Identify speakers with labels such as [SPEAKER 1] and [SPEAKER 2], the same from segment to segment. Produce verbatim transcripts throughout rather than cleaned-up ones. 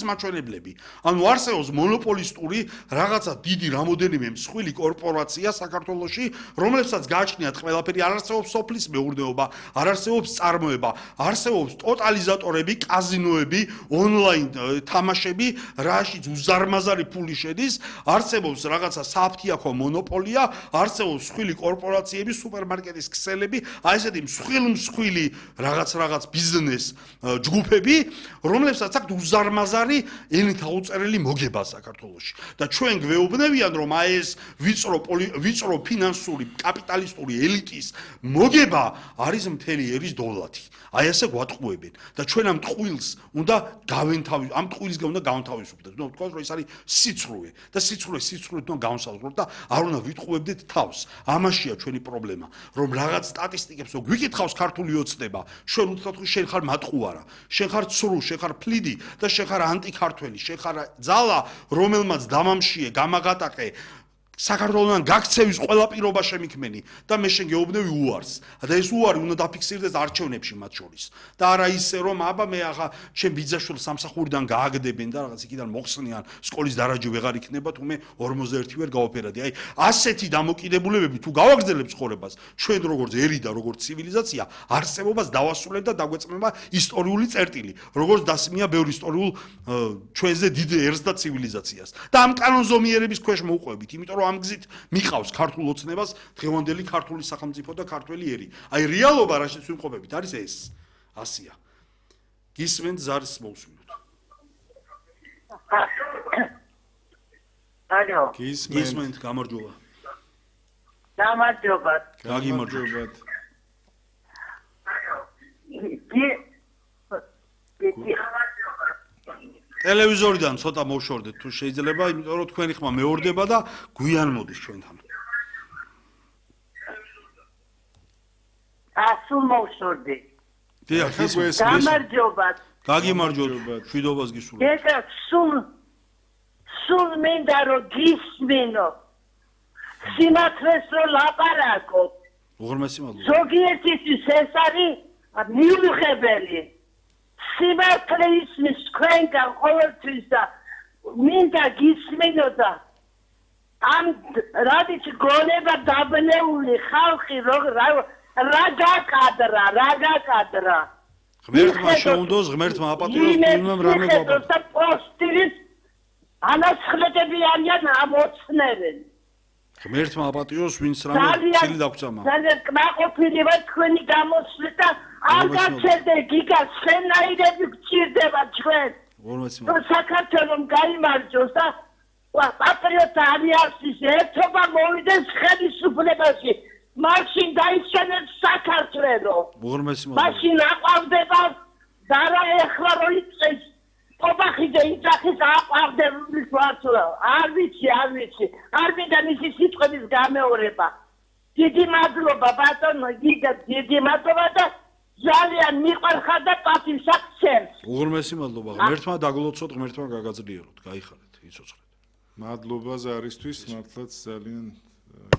[SPEAKER 1] მაჩვენებლები. ანუ არსებობს მონოპოლისტური რაღაცა დიდი რამოდენიმე მსხვილი კორპორაცია საქართველოში, რომლებსაც გააჩნიათ ყველაფერი, არ არსებობს სოფლის მეურნეობა, არ არსებობს წარმოება, არსებობს ტოტალიზატორები, კაზინოები, ონლაინ თამაშები, რაშიც უზარმაზარი ფული შედის, არსებობს რაღაცა საფთიაქო მონოპოლია, არსებობს მსხვილი კორპორაციები, სუპერმარკეტის ქსელები, აი ესეთი მსხვილ-მსხვილი რაღაც რაღაც ბიზნეს ჯგუფები, რომლებსაც აქვთ უზარმაზარი ენით აუწერელი მოგება საქართველოში და ჩვენ გვეუბნებიან რომ აი ეს ვიწრო ვიწრო ფინანსური კაპიტალისტური ელიტის მოგება არის მთელი ერის დოლარი აი ესე გვატყუებენ და ჩვენ ამ ტყუილს უნდა გავენთავისუფლოთ ამ ტყუილისგან უნდა გავანთავისუფლოთ ნუ თქვა რომ ეს არის სიცრუე და სიცრუე სიცრუეთ უნდა გავსაზღვროთ და არ უნდა ვიტყუებდეთ თავს ამაშია ჩვენი პრობლემა რომ რაღაც სტატისტიკებს რო გვიკითხავს ქართული ოცნება ჩვენ უთხრათ რომ შენ ხარ მატყუარა შენ ხარ ცრუ შენ ხარ ფლიდი და შენ ხარ ანტიქართველი შენ ხარ ძალა რომელმაც დამამშიე გამაღატაკე საქართველოსთან გაქცევის ყველა პირობა შემიქმენი და მე შენ გეუბნები უარს და ეს უარი უნდა დაფიქსირდეს არჩევნებში მათ შორის და არა ისე რომ აბა მე ახლა ჩემ ბიძაშვილს სამსახურიდან გააგდებენ და რაღაც იქიდან მოხსნიან სკოლის დარაჯი ვეღარ იქნება თუ მე ორმოცდაერთი ვერ გავაფერადი აი ასეთი დამოკიდებულებები თუ გავაგრძელებ ცხოვრებას ჩვენ როგორც ერი და როგორც ცივილიზაცია არსებობას დავასრულებ და დაგვეწმება ისტორიული წერტილი როგორც დასმია ბევრ ისტორიულ ჩვენზე დიდ ერს და ცივილიზაციას და ამ კანონზომიერების ქვეშ მოვყვებით იმიტომ რომ ამ გზით მიყავს ქართულ ოცნებას დღევანდელი ქართული სახელმწიფო და ქართველი ერი. აი რეალობა რაშიც ვიმყოფებით არის ეს. ასია. გისმენთ ზარის მოусმინოთ.
[SPEAKER 2] ალო.
[SPEAKER 1] გისმენთ გამარჯობა.
[SPEAKER 2] გამარჯობა.
[SPEAKER 1] გაგიმარჯობათ. ტელევიზორიდან ცოტა მოვშორდეთ თუ შეიძლება, იმიტომ რომ თქვენი ხმა მეორდება და გვიან მოდის ჩვენთან.
[SPEAKER 2] ასულ მოვშორდი.
[SPEAKER 1] დიახ, ეს
[SPEAKER 2] გამარჯობათ.
[SPEAKER 1] გაგიმარჯობათ, მშვიდობას გისურვებთ.
[SPEAKER 2] ეხლა სულ სულ მინდა რომ გისმინო. სიმართლეს რო ლაპარაკო.
[SPEAKER 1] უღრმესი მადლობა.
[SPEAKER 2] ზოგიერთისთვის ეს არის მიუღებელი. სიმართლე ისმის თქვენგან ყოველთვის და მინდა გისმინო და ამ რადიც გონება დაბნეული ხალხი რა გაკადრა, რა გაკადრა.
[SPEAKER 1] ღმერთმა შეუნდოს, ღმერთმა აპატიოს თუნდაც რამე გვაბა.
[SPEAKER 2] და პოსტირის ანაცხლეტები არიან ამოცნებენ.
[SPEAKER 1] ღმერთმა აპატიოს, ვინც რამე ცილი დაგწამა.
[SPEAKER 2] ძალიან კმაყოფილი ვარ თქვენი გამოსვლით და არ გაცერდე გიგას შენაირები გჭირდება ჩვენ. საქართველოს გაიმარჯოს და პატრიოტთა ალიანსის ერთობა მოვიდეს ხელისუფლებაში. მაშინ დაიჩენეთ საქართველო. მაშინ აყვავდება და რა ეხლა რო იწყეს ობახიძე იძახის აყვავდების ვარცლა. არ ვიცი, არ ვიცი. არ მინდა მისი სიტყვების გამეორება. დიდი მადლობა ბატონო, გიგა დიდი მადლობა და ძალიან მიყვარხარ და პატივსაცემს.
[SPEAKER 1] უღრმესი მადლობა. ღმერთმა დაგლოცოთ, ღმერთმა გაგაძლიეროთ. გაიხარეთ, იცოცხლეთ.
[SPEAKER 3] მადლობა ზარისთვის, მართლაც ძალიან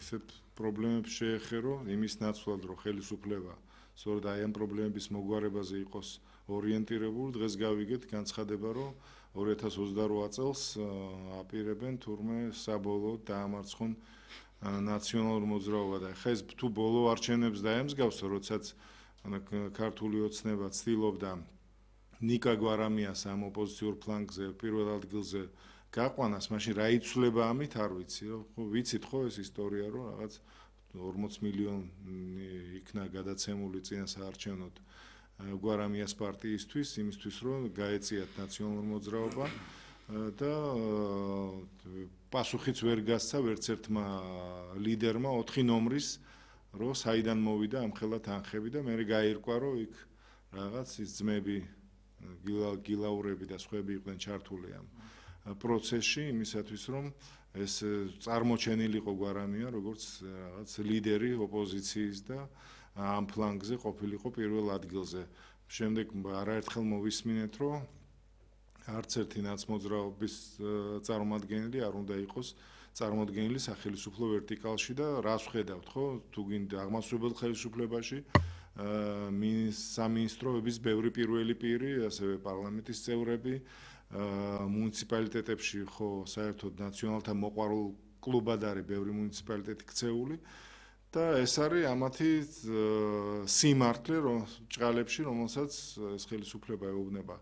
[SPEAKER 3] ისეთ პრობლემებს შეეხერო, იმის ნაცვლად, რომ ხელისუფლება სწორედ აი ამ პრობლემების მოგვარებაზე იყოს ორიენტირებული. დღეს გავიგეთ განცხადება, რომ ორი ათას ოცდარვა წელს აპირებენ თურმე საბოლოოდ დაამარცხონ ნაციონალურ მოძრაობა და ხა ეს თუ ბოლო არჩევნებს დაემსგავს, როდესაც ქართული ოცნება ცდილობდა ნიკა გვარამიას ამ ოპოზიციურ ფლანგზე პირველ ადგილზე გაყვანას, მაშინ რა იცვლება ამით არ ვიცი, ხო ვიცით ხო ეს ისტორია, რომ რაღაც ორმოც მილიონი იქნა გადაცემული წინა საარჩევნოდ გვარამიას პარტიისთვის, იმისთვის რომ გაეწიათ ნაციონალურ მოძრაობა და პასუხიც ვერ გასცა ვერც ერთმა ლიდერმა ოთხი ნომრის რომ საიდან მოვიდა ამხელა თანხები და მე გაირკვა რომ იქ რაღაც ის ძმები გილაურები და სხვები იყვნენ ჩართული ამ პროცესში იმისათვის რომ ეს წარმოჩენილიყო გვარამია როგორც რაღაც ლიდერი ოპოზიციის და ამ ფლანგზე ყოფილიყო პირველ ადგილზე. შემდეგ არაერთხელ მოვისმინეთ რომ არც ერთი ნაცმოძრაობის წარმომადგენელი არ უნდა იყოს წარმოადგენელი სახელმწიფო ვერტიკალში და რას ვხედავთ ხო თუ გინდა აღმასრულებელ ხელისუფლებაში სამინისტროების ბევრი პირველი პირი ასევე პარლამენტის წევრები მუნიციპალიტეტებში ხო საერთოდ ნაციონალთა მოყვარულ კლუბად არის ბევრი მუნიციპალიტეტი ქცეული და ეს არის ამათი სიმართლე რომ ჭყალებში რომელსაც ეს ხელისუფლება ეუბნება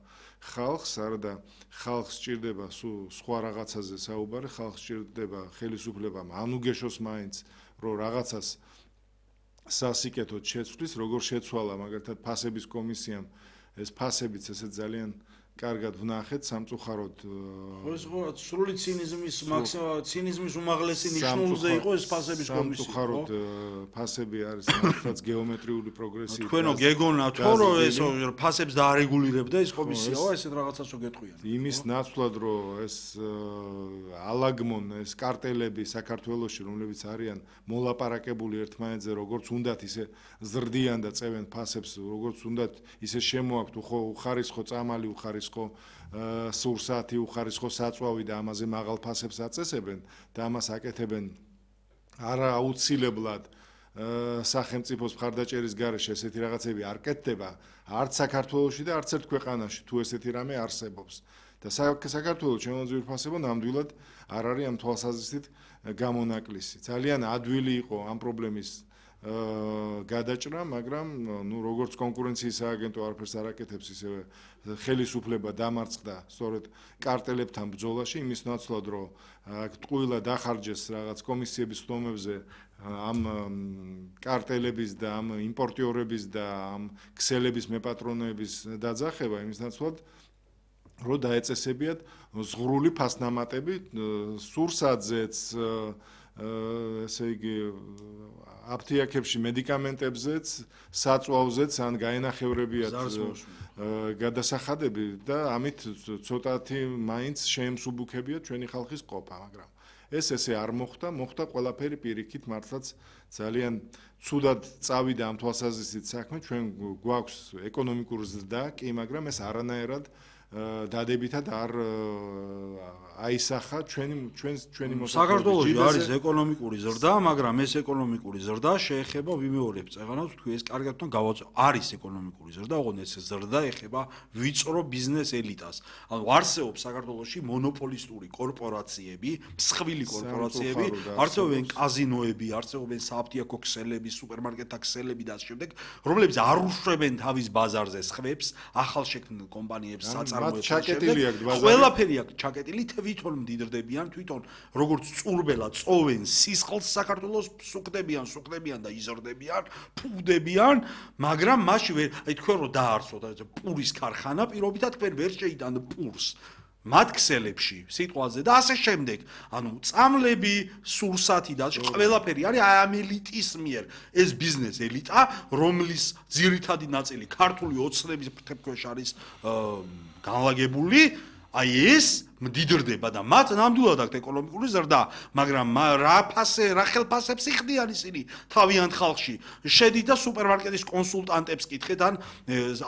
[SPEAKER 3] ხალხს არადა ხალხს სჭირდება სხვა რაღაცაზე საუბარი ხალხს სჭირდება ხელისუფლებამ ანუგეშოს მაინც რომ რაღაცას სასიკეთოდ შეცვლის როგორ შეცვალა მაგალითად ფასების კომისიამ ეს ფასებიც ესე ძალიან კარგად ვნახეთ სამწუხაროდ
[SPEAKER 1] ხო ეს ხო სრული ცინიზმის მაქსიმალ ცინიზმის უმაღლესი ნიშნულზე იყო ეს ფასების კომისია
[SPEAKER 3] სამწუხაროდ ფასები არის მართლაც გეომეტრიული პროგრესი
[SPEAKER 1] თქვენო გეგონა თო რომ ეს ფასებს დაარეგულირებდა ეს კომისიაო ესეთ რაღაცას რო გეტყვიან
[SPEAKER 3] იმის ნაცვლად რომ ეს ალაგმონ ეს კარტელები საქართველოში რომლებიც არიან მოლაპარაკებული ერთმანეთზე როგორც უნდათ ისე ზრდიან და წევენ ფასებს როგორც უნდათ ისე შემოაქვთ უხარისხო წამალი უხარისხო ხო სურსათი უხარისხო საწვავი და ამაზე მაღალ ფასებს აწესებენ და ამას აკეთებენ არა აუცილებლად სახელმწიფოს მხარდაჭერის გარეშე ესეთი რაღაცები არ კეთდება არც საქართველოში და არც ერთ ქვეყანაში თუ ესეთი რამე არსებობს და საქართველოს ჩემო ძვირფასებო ნამდვილად არ არის ამ თვალსაზრისით გამონაკლისი ძალიან ადვილი იყო ამ პრობლემის გადაჭრა, მაგრამ ნუ როგორც კონკურენციის სააგენტო არაფერს არ აკეთებს ისევე ხელისუფლება დამარცხდა სწორედ კარტელებთან ბრძოლაში იმის ნაცვლად რომ ტყუილა დახარჯეს რაღაც კომისიების ხდომებზე ამ კარტელების და ამ იმპორტიორების და ამ ქსელების მეპატრონეების დაძახება იმის ნაცვლად რომ დაეწესებიათ ზღვრული ფასნამატები სურსათზეც ესე იგი აფთიაქებში მედიკამენტებზეც, საწვავზეც ან გაენახევრებიათ გადასახადები და ამით ცოტათი მაინც შეემსუბუქებიათ ჩვენი ხალხის ყოფა, მაგრამ ეს ესე არ მოხდა, მოხდა ყველაფერი პირიქით მართლაც ძალიან ცუდად წავიდა ამ თვალსაზრისით საქმე, ჩვენ გვაქვს ეკონომიკური ზრდა, კი, მაგრამ ეს არანაირად დადებითად არ აისახა ჩვენი ჩვენს ჩვენი მოსახლეობის
[SPEAKER 1] საქართველოში არის ეკონომიკური ზრდა, მაგრამ ეს ეკონომიკური ზრდა შეეხება ვიმეორებ წეღანავს თქვი ეს კარგად თვითონ გავაწევ არის ეკონომიკური ზრდა, ოღონდ ეს ზრდა ეხება ვიწრო ბიზნეს ელიტას. ანუ არსებობს საქართველოში მონოპოლისტური კორპორაციები, მსხვილი კორპორაციები, არსებობენ კაზინოები, არსებობენ საფთიაქო ქსელები, სუპერმარკეტთა ქსელები და ასე შემდეგ, რომლებიც არ უშვებენ თავის ბაზარზე სხვებს, ახალშექმნილ კომპანიებს
[SPEAKER 3] ჩაკეტილი აქვს ბაზარი.
[SPEAKER 1] ყველაფერი აქვს ჩაკეტილი, თვითონ მდიდრდებიან, თვითონ როგორც წურბელა წოვენ სისხლს საქართველოს სუქდებიან, სუქდებიან და იზრდებიან, ფუვდებიან, მაგრამ მაშინ ვერ, აი თქვენ რო დაარსოთ პურის ქარხანა, პირობითად თქვენ ვერ შეიტანთ პურს. მათ ქსელებში, სიტყვაზე და ასე შემდეგ. ანუ წამლები, სურსათი და ყველაფერი არის ამ ელიტის მიერ. ეს ბიზნეს ელიტა, რომლის ძირითადი ნაწილი ქართული ოცნების ფრთებქვეშ არის განლაგებული, აი ეს მდიდრდება და მათ ნამდვილად აქვს ეკონომიკური ზრდა, მაგრამ რა ფასე, რა ხელფასებს იხდიან ისინი თავიანთ ხალხში. შედით და სუპერმარკეტის კონსულტანტებს კითხეთ ან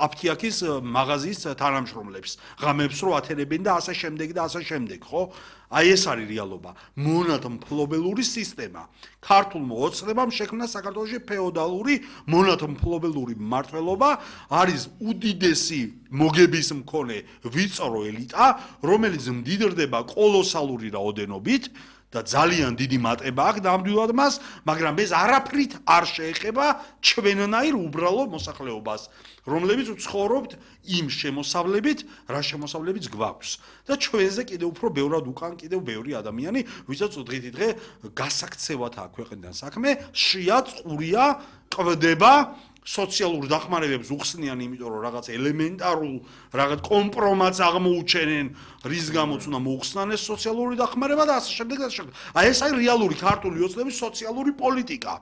[SPEAKER 1] აფთიაქის მაღაზიის თანამშრომლებს, ღამებს რო ათენებენ და ასე შემდეგ და ასე შემდეგ, ხო? აი ეს არის რეალობა. მონათმფლობელური სისტემა. ქართულმა ოცნებამ შექმნა საქართველოში ფეოდალური მონათმფლობელური მმართველობა, არის უდიდესი მოგების მქონე ვიწრო ელიტა, რომელიც მდიდრდება კოლოსალური რაოდენობით და ძალიან დიდი მატება აქვს ნამდვილად მას, მაგრამ ეს არაფრით არ შეეხება ჩვენნაირ უბრალო მოსახლეობას, რომლებიც ვცხოვრობთ იმ შემოსავლებით, რა შემოსავლებიც გვაქვს. და ჩვენზე კიდევ უფრო ბევრად უკან კიდევ ბევრი ადამიანი, ვისაც დღითი დღე გასაქცევად აქვს ქვეყნიდან საქმე, შიაც ყურია, ყვდება სოციალურ დახმარებებს უხსნიან, იმიტომ რომ რაღაც ელემენტარულ რაღაც კომპრომატს აღმოუჩენენ, რის გამოც უნდა მოუხსნან ეს სოციალური დახმარება და ასე შემდეგ და ასე შემდეგ. აი ეს არის რეალური ქართული ოცნების სოციალური პოლიტიკა.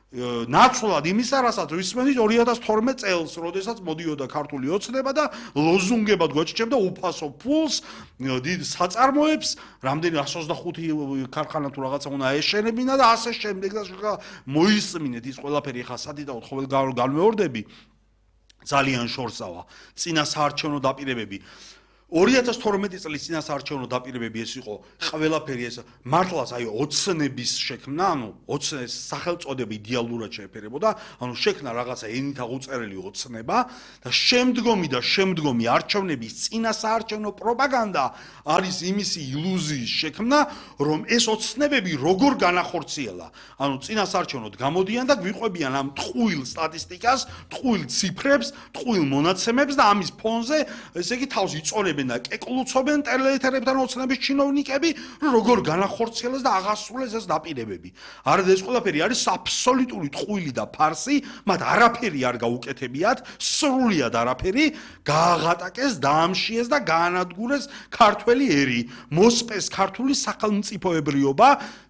[SPEAKER 1] ნაცვლად იმისა, რასაც ვისმენთ ორი ათას თორმეტ წელს, როდესაც მოდიოდა ქართული ოცნება და ლოზუნგებად გვაჭირებდა უფასო ფულს, დიდ საწარმოებს, რამდენი εκατს ოცდახუთი ქარხანა თუ რაღაცა უნდა ეშენებინა და ასე შემდეგ და მოისმინეთ ის ყველაფერი ხა სადიდაოდ ყოველ განმეორდები ძალიან შორსავა. წინა საარჩევნო დაპირებები ორი ათას თორმეტი წლის წინასაარჩევნო დაპირებები ეს იყო ყველაფერი ეს მართლაც აი ოცნების შექმნა, ანუ ოცნების სახელწოდება იდეალურად შეეფერებოდა, ანუ შექმნა რაღაცა ენით აღუწერელი ოცნება და შემდგომი და შემდგომი არჩევნების წინასაარჩევნო პროპაგანდა არის იმისი ილუზიის შექმნა, რომ ეს ოცნებები როგორ განახორციელა. ანუ წინასაარჩევნოდ გამოდიან და გვიყვებიან ამ ტყუილ სტატისტიკას, ტყუილ ციფრებს, ტყუილ მონაცემებს და ამის ფონზე ესე იგი თავს იწონებენ და კეკლუცობენ ტელეეთერებთან ოცნების ჩინოვნიკები, როგორ განახორციელეს და აღასრულეს ეს დაპირებები. არა ეს ყველაფერი არის აბსოლუტური ტყუილი და ფარსი, მათ არაფერი არ გაუკეთებიათ, სრულიად არაფერი, გააღატაკეს, დაამშიეს და გაანადგურეს ქართველი ერი, მოსპეს ქართული სახელმწიფოებრიობა,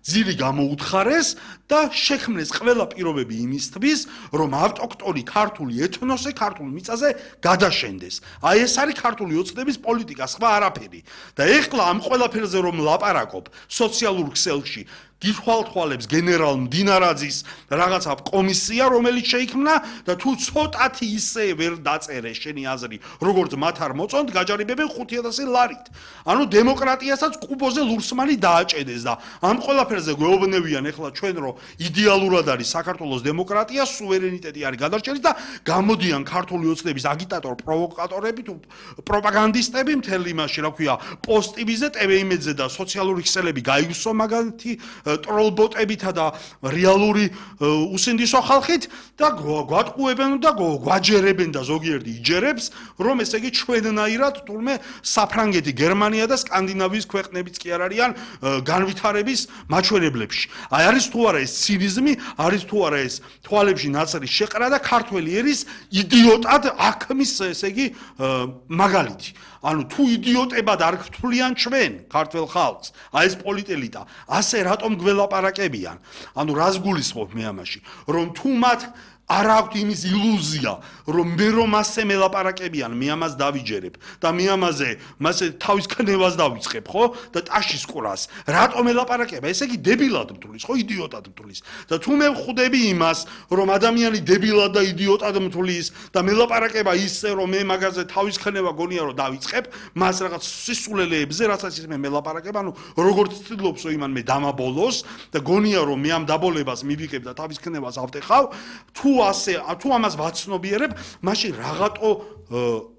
[SPEAKER 1] ძილი გამოუთხარეს და შექმნეს ყველა პირობები იმისთვის, რომ ავტოქტონი ქართული ეთნოსი ქართულ მიწაზე გადაშენდეს. აი ეს არის ქართული ოცნების პოლიტიკა, სხვა არაფერი. და ეხლა ამ ყველაფერზე რომ ლაპარაკობ სოციალურ ქსელში გითვალთვალებს გენერალ მდინარაძის რაღაცა კომისია, რომელიც შეიქმნა და თუ ცოტათი ისე ვერ დაწერე შენი აზრი, როგორც მათ არ მოწონთ, გაჯარებებენ ხუთი ათასი ლარით. ანუ დემოკრატიასაც კუბოზე ლურსმანი დააჭედეს და ამ ყველაფერზე გვეუბნებიან ეხლა ჩვენ, რომ იდეალურად არის საქართველოს დემოკრატია, სუვერენიტეტი არის გადარჩენილი და გამოდიან ქართული ოცნების აგიტატორ პროვოკატორები თუ პროპაგანდისტები მთელი იმაში, რა ქვია, პოსტივიზე, ტევეიმედზე და სოციალური ქსელები გაიგსო მაგათი ტროლბოტებითა და რეალური უსინდისო ხალხით და გვატყუებენ და გვაჯერებენ და ზოგიერთი იჯერებს, რომ ესე იგი ჩვენნაირად თურმე საფრანგეთი, გერმანია და სკანდინავიის ქვეყნებიც კი არ არიან განვითარების მაჩვენებლებში. აი არის თუ არა ეს ცინიზმი, არის თუ არა ეს თვალებში ნაცარი შეყრა და ქართველი ერის იდიოტად აქმის ესე იგი მაგალითი. ანუ თუ იდიოტებად არ გთვლიან ჩვენ ქართველ ხალხს, აი ეს პოლიტელიტა, ასე რატომ გველაპარაკებიან? ანუ რას გულისხმობ მე ამაში, რომ თუ მათ არ აქვს იმის ილუზია, რომ მე რომ ასე მელაპარაკებიან, მე ამას დავიჯერებ და მე ამაზე მასე თავის ქნევას დავიწყებ, ხო? და ტაშის ყრას. რატომ მელაპარაკება? ესე იგი დებილად მთulis, ხო, იდიოტად მთulis. და თუ მე ვხვდები იმას, რომ ადამიანი დებილად და იდიოტად მთulis და მელაპარაკება ისე, რომ მე მაგაზე თავის ქნება გონია რომ დავიწყებ, მას რაღაც სისულელეებზე, რასაც ის მე მელაპარაკება, ანუ როგორც ცდილობს რომ იმან მე დამაბოლოს და გონია რომ მე ამ დაბოლებას მივიღებ და თავის ქნებას ავტეხავ, თუ ასე თუ ამას ვაცნობიერებ, მაშინ რაღაცო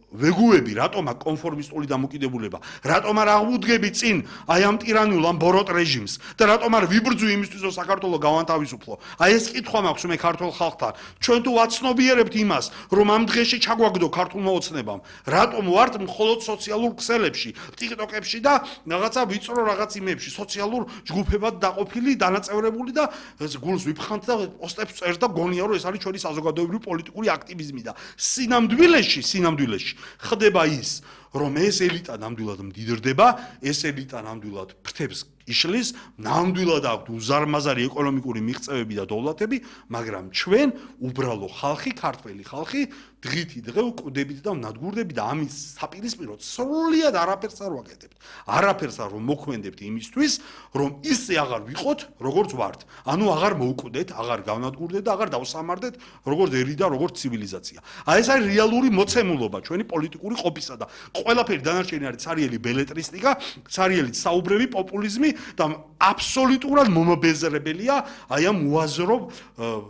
[SPEAKER 1] ვეგუები, რატომ აქ კონფორმისტული დამოკიდებულება, რატომ არ აღვუდგები წინ აი ამ ტირანულ ამ ბოროტ რეჟიმს და რატომ არ ვიბრძვი იმისთვის, რომ საქართველო გავანთავისუფლო. აი ეს კითხვა მაქვს მე ქართულ ხალხთან. ჩვენ თუ ვაცნობიერებთ იმას, რომ ამ დღეში ჩაგვაგდო ქართულმა ოცნებამ, რატომ ვართ მხოლოდ სოციალურ ქსელებში, ტიკტოკებში და რაღაცა ვიწრო რაღაც იმებში, სოციალურ ჯგუფებად დაყოფილი, დანაწევრებული და გულს ვიფხანთ და პოსტებს წერს და გონია, რომ ეს არის ჩვენი საზოგადოებრივი პოლიტიკური აქტივიზმი და სინამდვილეში, სინამდვილეში ხდება ის, რომ ეს ელიტა ნამდვილად მდიდრდება, ეს ელიტა ნამდვილად ფრთებს იშლის, ნამდვილად აქვს უზარმაზარი ეკონომიკური მიღწევები და დოვლათები, მაგრამ ჩვენ უბრალო ხალხი, ქართველი ხალხი დღითი დღე ვკვდებით და ვნადგურდებით და ამის საპირისპიროდ სრულიად არაფერს არ ვაკეთებთ. არაფერს არ მოქმედებთ იმისთვის, რომ ისე აღარ ვიყოთ, როგორც ვართ. ანუ აღარ მოვკვდეთ, აღარ გავნადგურდეთ და აღარ დავსამარდეთ, როგორც ერი და როგორც ცივილიზაცია. აი ეს არის რეალური მოცემულობა ჩვენი პოლიტიკური ყოფისა და ყველაფერი დანარჩენი არის ცარიელი ბელეტრისტიკა, ცარიელი საუბრები, პოპულიზმი და აბსოლუტურად მომბეზრებელია აი ამ უაზრო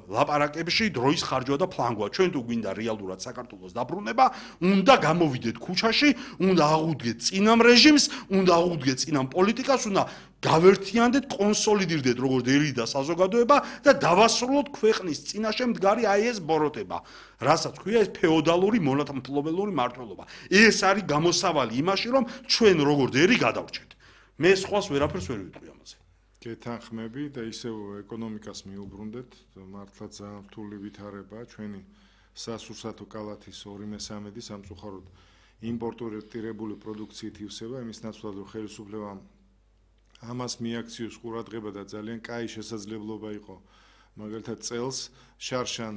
[SPEAKER 1] ლაპარაკებში დროის ხარჯვა და ფლანგვა. ჩვენ თუ გვინდა რეალურად საქართველოს დაბრუნება, უნდა გამოვიდეთ ქუჩაში, უნდა აღვუდგეთ წინამ რეჟიმს, უნდა აღვუდგეთ წინამ პოლიტიკას, უნდა გავერთიანდეთ, კონსოლიდირდეთ როგორც ერი და საზოგადოება და დავასრულოთ ქვეყნის წინაშე მდგარი აი ეს ბოროტება. რასაც ქვია ეს ფეოდალური მონათმფლობელური მართლობა. ეს არის გამოსავალი იმაში, რომ ჩვენ როგორც ერი გადავრჩეთ. მე სხვას ვერაფერს ვერ ვიტყვი ამაზე.
[SPEAKER 3] გეთანხმები და ისევ ეკონომიკას მიუბრუნდეთ, მართლა ძალიან რთული ვითარება ჩვენი სასურსათო კალათის ორი მესამედი სამწუხაროდ იმპორტირებული პროდუქციით ივსება, იმის ნაცვლად რომ ხელისუფლებამ ამას მიაქციოს ყურადღება და ძალიან კაი შესაძლებლობა იყო მაგალითად წელს შარშან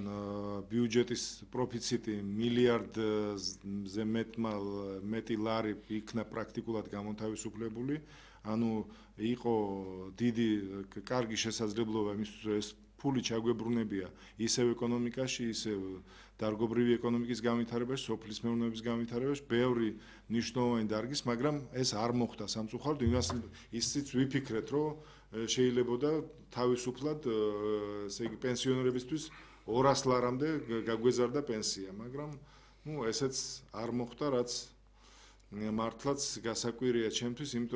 [SPEAKER 3] ბიუჯეტის პროფიციტი მილიარდზე მეტი ლარი იქნა პრაქტიკულად გამონთავისუფლებული, ანუ იყო დიდი კარგი შესაძლებლობა იმისთვის, რომ ეს ფული ჩაგვებრუნებია ისევ ეკონომიკაში, ისევ დარგობრივი ეკონომიკის განვითარებაში, სოფლის მეურნეობის განვითარებაში, ბევრი მნიშვნელოვანი დარგის, მაგრამ ეს არ მოხდა სამწუხაროდ, იმას ისიც ვიფიქრეთ, რომ შეიძლებოდა თავისუფლად, ესე იგი, პენსიონერებისთვის ორას ლარამდე გაგვეზარდა პენსია, მაგრამ ნუ ესეც არ მოხდა, რაც მართლაც გასაკვირია ჩემთვის, იმიტომ